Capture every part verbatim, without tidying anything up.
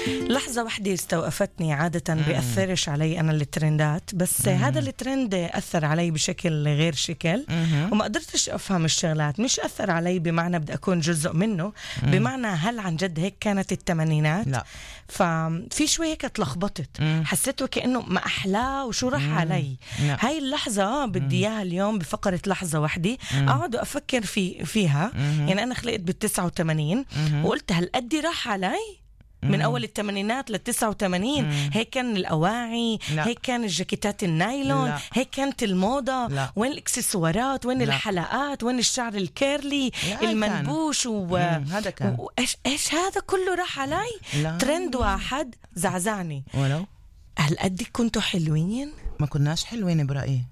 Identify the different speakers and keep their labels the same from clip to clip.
Speaker 1: لحظة واحدة استوقفتني. عادة بيأثرش علي أنا الترندات، بس مم. هذا الترند أثر علي بشكل غير شكل، مم. وما قدرتش أفهم الشغلات. مش أثر علي بمعنى بدي أكون جزء منه، مم. بمعنى هل عن جد هيك كانت الثمانينات؟ لا. ففي شوي هيك تلخبطت، حسيته كأنه ما أحلاه وشو راح علي. لا. هاي اللحظة بدي إياها اليوم بفقرة لحظة واحدة أقعد أفكر في فيها. مم. يعني أنا خلقت بالتسعة وثمانين وقلت هل قدي راح علي من أول الثمانينات للتسعة وثمانين. هيك كان الأواعي، لا. هيك كان الجاكيتات النايلون، لا. هيك كانت الموضة، لا. وين الإكسسوارات، وين لا. الحلقات، وين الشعر الكيرلي، لا. المنبوش و... هذا كان وإيش إيش هذا كله راح علي. لا. ترند واحد زعزعني. ولو هل قدي كنتوا حلوين؟
Speaker 2: ما كناش حلوين برأيي،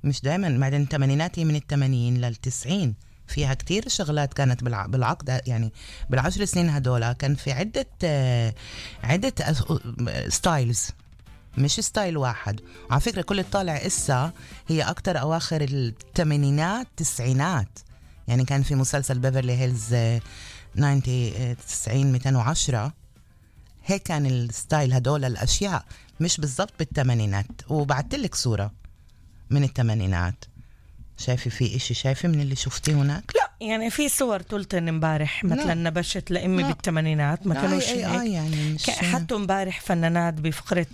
Speaker 2: مش دايما. بعدين الثمانينات هي من الثمانين للتسعين، فيها كتير شغلات كانت بالعقد. يعني بالعشر سنين هدولا كان في عدة عدة ستايلز، مش ستايل واحد. على فكرة كل الطالع إسا هي أكتر أواخر الثمانينات تسعينات. يعني كان في مسلسل بيفرلي هيلز تسعين مئتين وعشرة، هيك كان الستايل هدول الأشياء، مش بالضبط بالثمانينات. وبعتلك صورة من الثمانينات، شايفة في إشي شايفة من اللي شفتيه هناك؟
Speaker 1: لا يعني في صور طولتن امبارح مثلا نبشت لأمي بالثمانينات، ما كانوش هيك. يعني حطوا امبارح فنانات بفقرة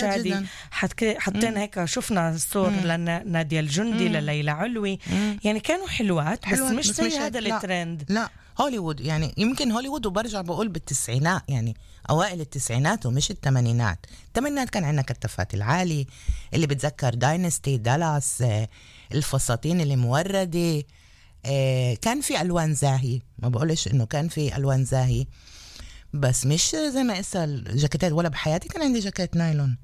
Speaker 1: شادي، حطين هيك شفنا الصور لنادية الجندي، لليلى علوي. مم. يعني كانوا حلوات، بس حلوات مش زي هذا الترند.
Speaker 2: لا هوليوود، يعني يمكن هوليوود، وبرجع بقول بالتسعينات، يعني أوائل التسعينات ومش الثمانينات. الثمانينات كان عندنا كتفات العالي اللي بتذكر داينستي، دالاس، الفساتين اللي موردة، كان في ألوان زاهي. ما بقولش إنه كان في ألوان زاهي، بس مش زي ما إسا الجاكيتات. ولا بحياتي كان عندي جاكيت نايلون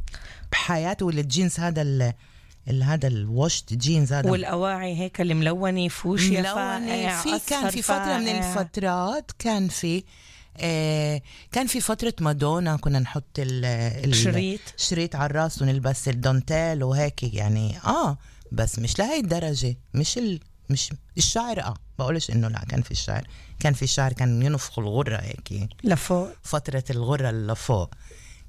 Speaker 2: بحياتي، ولا الجينز هذا ال هذا الوشت جينز هذا،
Speaker 1: والأواعي هيك الملونة فوشيا فاقع.
Speaker 2: في كان في فترة فاقع. من الفترات كان في آه كان في فترة مادونا كنا نحط الشريط شريط على الراس ونلبس الدونتيل وهيك يعني. آه بس مش لهي الدرجة، مش ال مش الشعر. اه بقولش انه لا، كان في الشعر، كان في الشعر كان ينفخ الغرة هيك
Speaker 1: لفوق،
Speaker 2: فترة الغرة لفوق.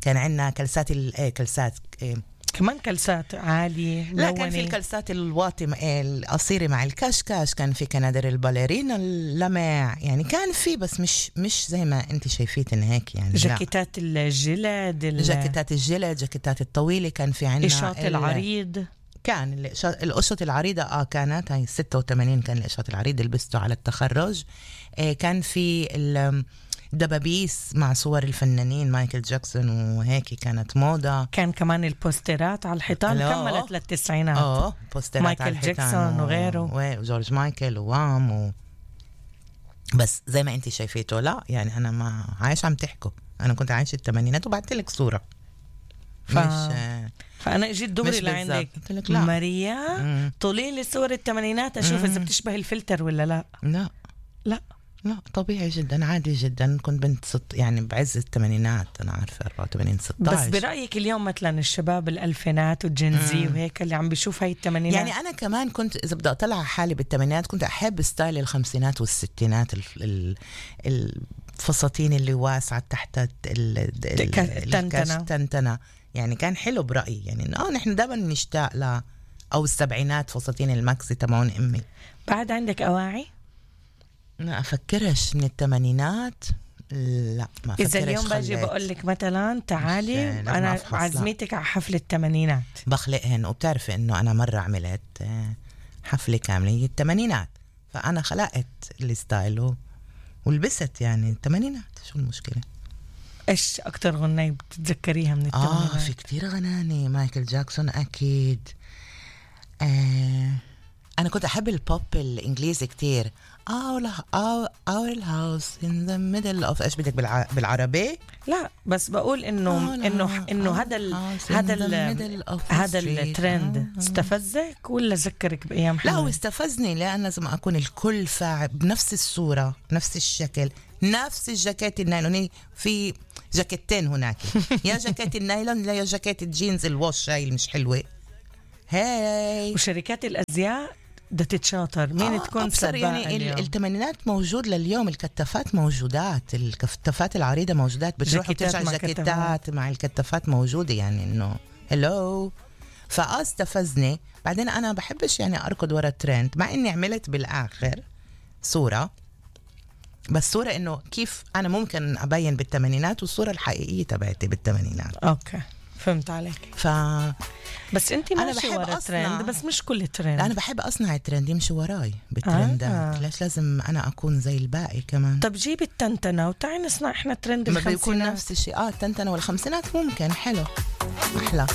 Speaker 2: كان عندنا كلسات الايه كلسات إيه
Speaker 1: كمان كلسات عالية.
Speaker 2: لا كان في الكلسات الواطي القصيرة مع الكشكش، كان في كنادر الباليرينا اللمع، يعني كان في، بس مش مش زي ما انت شايفين هيك. يعني
Speaker 1: جاكيتات الجلد،
Speaker 2: جاكيتات الجلد، جاكيتات الطويلة. كان في عندنا
Speaker 1: القشاط العريض،
Speaker 2: كان القشط العريضة اه كانت هاي ستة وثمانين، كان القشط العريض لبسته على التخرج. آه كان في الدبابيس مع صور الفنانين مايكل جاكسون وهيك، كانت موضة.
Speaker 1: كان كمان البوسترات على الحيطان، كملت للتسعينات.
Speaker 2: اه بوسترات
Speaker 1: مايكل
Speaker 2: على الحيطان
Speaker 1: جاكسون وغيره،
Speaker 2: وجورج مايكل ووام و... بس زي ما انت شايفيته لا، يعني انا ما عايش عم تحكوا، انا كنت عايش الثمانينات وبعتلك صورة.
Speaker 1: ف... مش فأنا اجيت دغري لعندك ماريا، طولي لي صور الثمانينات اشوف مم. اذا بتشبه الفلتر ولا لا.
Speaker 2: لا
Speaker 1: لا
Speaker 2: لا طبيعي جدا، عادي جدا. كنت بنت ست يعني بعز الثمانينات، انا عارفه أربعة وثمانين ستاشر.
Speaker 1: بس برايك اليوم مثلا الشباب الالفينات والجنزي وهيك اللي عم بيشوف هاي الثمانينات،
Speaker 2: يعني انا كمان كنت اذا بدي اطلع حالي بالثمانينات كنت احب ستايل الخمسينات والستينات، الفساتين اللي واسعه تحت التنتنه، يعني كان حلو برأيي. يعني اه نحن دائما نشتاق ل او السبعينات فساتين الماكسي تبعون امي.
Speaker 1: بعد عندك اواعي؟
Speaker 2: لا افكرش من الثمانينات، لا ما افكرش.
Speaker 1: اذا اليوم باجي بقول لك مثلا تعالي انا عزميتك على حفله الثمانينات،
Speaker 2: بخلقهن. وبتعرفي انه انا مره عملت حفله كامله هي الثمانينات، فانا خلقت الستايل ولبست يعني الثمانينات. شو المشكله؟
Speaker 1: ايش اكتر غناية بتتذكريها من الثمانينات؟
Speaker 2: اه في كتير غناني. مايكل جاكسون اكيد. آه انا كنت احب البوب الانجليزي كتير. our our house in the middle of ايش بدك بالع... بالعربي؟
Speaker 1: لا بس بقول انه انه انه هذا ال... هذا ال... هذا الترند استفزك ولا ذكرك بايام حلوه؟
Speaker 2: لا هو استفزني، لان لازم اكون الكل فاعل بنفس الصوره، نفس الشكل، نفس الجاكيت النايلوني. في جاكيتين هناك، يا جاكيت النايلون لا يا جاكيت الجينز الوش هاي مش حلوه. هاي
Speaker 1: وشركات الازياء بدها تتشاطر مين
Speaker 2: آه
Speaker 1: تكون
Speaker 2: أبصر يعني ال- الثمانينات موجود لليوم. الكتافات موجودات، الكتافات العريضة موجودات، بتروح وترجع جاكيتات مع الكتافات موجودة، يعني إنه هلو. فآه استفزني. بعدين أنا بحبش يعني أركض ورا الترند، مع إني عملت بالآخر صورة، بس صورة إنه كيف أنا ممكن أبين بالثمانينات، والصورة الحقيقية تبعتي بالثمانينات.
Speaker 1: أوكي فهمت عليك.
Speaker 2: ف
Speaker 1: بس انت ماشي ورا ترند، بس مش كل ترند.
Speaker 2: انا بحب اصنع الترند يمشي وراي بالترندات. آه. ليش لازم انا اكون زي الباقي كمان؟
Speaker 1: طب جيب التنتنه وتعي نصنع احنا ترند الخمسينات.
Speaker 2: بيكون نفس الشيء. اه التنتنه والخمسينات ممكن حلو، احلى.